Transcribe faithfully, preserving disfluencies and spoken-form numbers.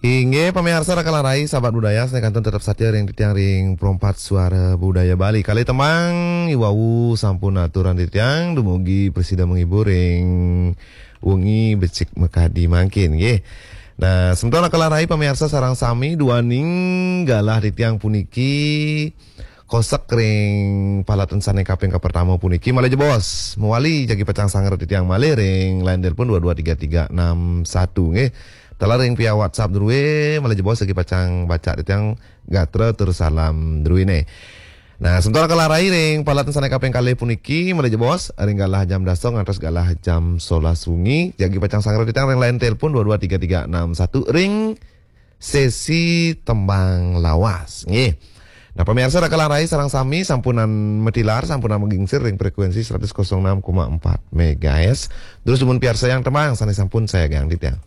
Inggih pamiarsa Raka Larai, sahabat budaya, sané kantun tetep satia ring titiang ring Perempat Suara Budaya Bali. Kalih tembang iwau sampun aturan titiang, dumugi prasida menghibur ring wengi becik makadi mangkin, nggih. Nah, semeton Raka Larai pamiarsa sareng sami, duaning galah titiang puniki kosek ring palaten sané kaping kapertama puniki, malih jebos mawali jagi pacang sangra titiang malih ring line telepon dua dua tiga tiga enam satu, nggih. Taler ring via WhatsApp drué, malih jebos jagi pacang baca titiang gatra tur salam druéné. Nah, semeton Raka Larai ring palaten sané kaping kalih puniki, malih jebos ring galah jam dasa ngantos galah jam solas wengi, jagi pacang sangra titiang ring line telepon dua dua tiga tiga enam satu ring sesi tembang lawas, nggih. Nah, pamiarsa Raka Larai sareng sami sampunang matilar, sampunang magingsir ring frekuensi seratus kosong enam koma empat megahertz. Terus dumun piarsayang tembang sané sampun sayagang titiang.